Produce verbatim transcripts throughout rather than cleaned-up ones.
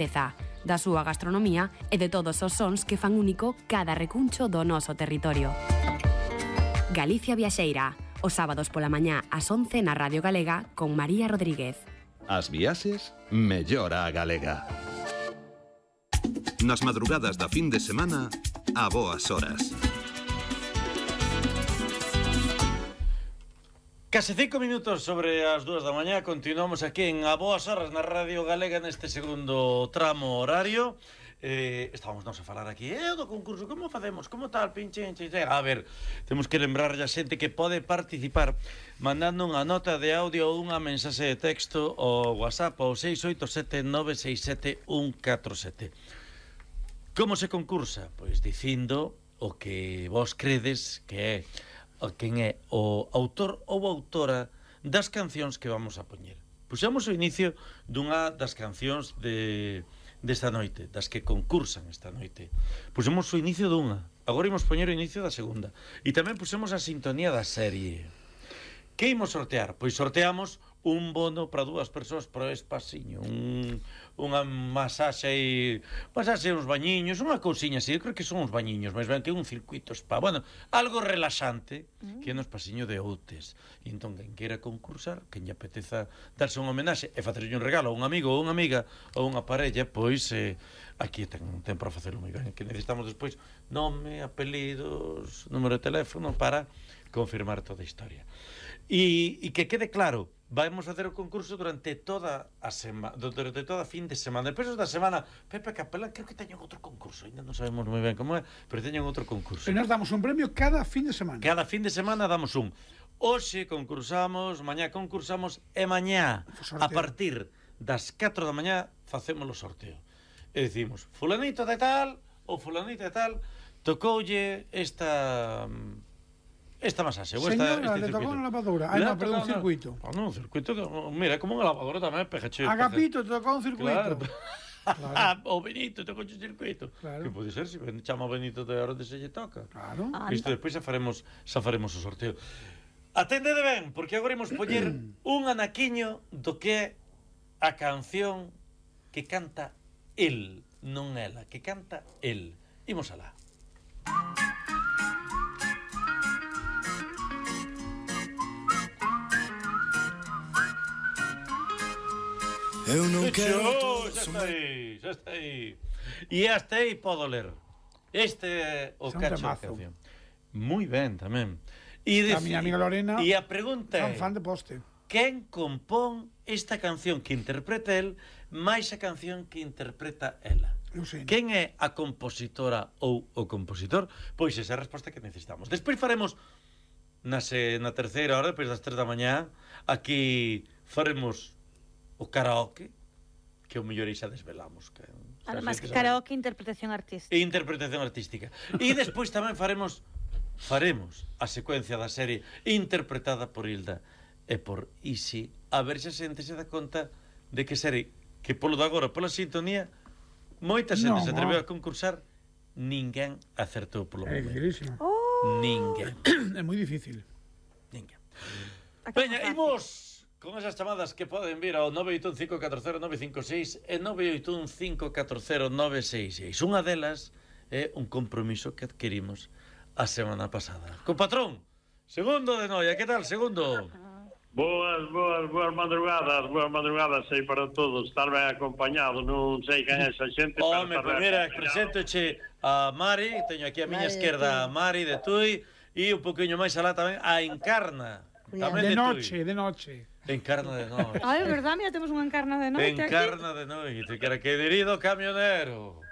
riqueza da súa gastronomía e de todos os sons que fan único cada recuncho do noso territorio. Galicia Viaxeira, os sábados pola mañá ás once na Radio Galega con María Rodríguez. As viaxes, mellora a galega. Nas madrugadas da fin de semana, a boas horas. Case cinco minutos sobre as dúas da mañá. Continuamos aquí en A Boas Horas na Radio Galega neste segundo tramo horario. Eh, estábamos nos a falar aquí eh, do concurso, como facemos, como tal, pinche, pinche, pinche. A ver, temos que lembrar a xente que pode participar mandando unha nota de audio ou unha mensaxe de texto ao WhatsApp ao seis oito sete nove seis sete un catro sete. Como se concursa? Pois dicindo o que vos credes que é quen é o autor ou autora das cancións que vamos a poñer. Puxamos o inicio dunha das cancións de desta noite, das que concursan esta noite. Puxemos o inicio dunha, agora imos poñer o inicio da segunda. E tamén puxemos a sintonía da serie. Que imos sortear? Pois sorteamos un bono para dúas persoas para o espaciño, un, unha masaxe e masaxe uns bañiños, unha cousiña así, eu creo que son uns bañiños, máis ben que un circuito spa, bueno, algo relaxante que é no espaciño de Outes. E entón, quen queira concursar, quen lle apeteza darse un homenaxe e facerlle un regalo a un amigo ou unha amiga ou unha parella, pois eh, aquí ten, ten para facelo moi ben, que necesitamos despois nome, apelidos, número de teléfono para confirmar toda a historia. E, e que quede claro, vamos facer o concurso durante toda a semana, durante toda a fin de semana. Despois da semana, Pepe Capela, creo que teñen outro concurso, ainda non sabemos moi ben como é, pero teñen outro concurso. E nos damos un premio cada fin de semana. Cada fin de semana damos un. Hoxe concursamos, mañá concursamos e mañá, a partir das catro da mañá, facemos o sorteo. E dicimos, fulanito de tal ou fulanito de tal tocoulle esta... esta masaxe, ou esta, señora, este le tocou circuito. unha lavadora. Ah, non, perdón, un circuito. Ah, non, un circuito, mira, como unha lavadora tamén, pegache. Agapito, te tocou un circuito. Claro. Claro. O Benito tocou un circuito. Claro. Que pode ser, se chama o Benito de hora de se lle toca. Claro. Isto despois xa faremos, xa faremos o sorteo. Atendede ben, porque agora imos poñer un anaquiño do que é a canción que canta el, non ela, que canta el. Imos alá. Eu non quero todo, xa está aí, xa está aí. E hasta aí podo ler. Este é o Son cacho da temazo. canción. Moi ben, tamén. E A miña amiga Lorena E a pregunta fan é, fan de poste. quen compón esta canción que interpreta el máis a canción que interpreta ela? Eu sei. Quen é a compositora ou o compositor? Pois esa é a resposta que necesitamos. Despois faremos na, se, na terceira hora, depois das tres da mañá, aquí faremos o karaoke, que o mellor xa desvelamos. Que, Además, que karaoke, interpretación artística. E interpretación artística. E despois tamén faremos faremos a secuencia da serie interpretada por Hilda e por Isi, a ver se a xente se dá conta de que serie, que polo de agora, pola sintonía, moita xente No, se atreveu no. a concursar, ninguén acertou polo É momento. dificilísimo. Oh. Ninguén. É moi difícil. Ninguén. Acá Veña, fácil. imos con esas chamadas que poden vir ao nove oito un cinco catro cero nove cinco seis e nove oito un cinco catro cero nove seis seis. Unha delas é un compromiso que adquirimos a semana pasada. Con patrón, Segundo de Noia, que tal, Segundo? Boas, boas, boas madrugadas, boas madrugadas aí para todos, estar ben acompañado, non sei quen é esa xente. Home, pues mira, presentoche a Mari, teño aquí a miña esquerda a Mari de Tui e un poquinho máis alá tamén a Encarna. Tamén De de noche, Tui. de noche. Encarna de noite. Ai, é verdad, mira, temos unha encarna de noite aquí. Encarna de noite, que era querido camionero.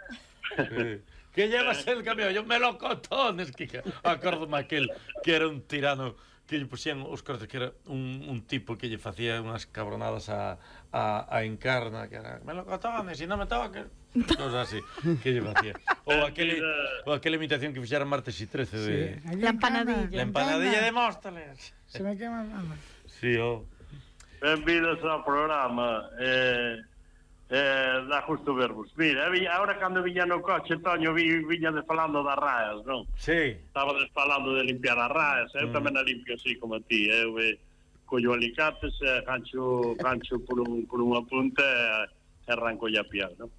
que, que llevas el camión, yo melocotones, que acórdome aquel que era un tirano que lle pusían os cortes, que era un, un tipo que lle facía unhas cabronadas a, a, a Encarna, que era melocotones, e non me toques, cosas así, que lle facía. Ou aquele, ou aquela imitación que fixera Martes y trece de... Sí. La empanadilla. La empanadilla de Móstoles. Se me quema a mano. Sí, oh. Benvidos ao programa. Eh, eh, dá justo verbos. Mira, agora cando viña no coche, Toño, vi, viña de falando das raias, non? Sí. Estaba falando de limpiar as raias. Eu mm. tamén a limpio así como a ti. Eu eh, collo alicates, eh, gancho, gancho por, un, por unha punta e eh, arranco a piar, non?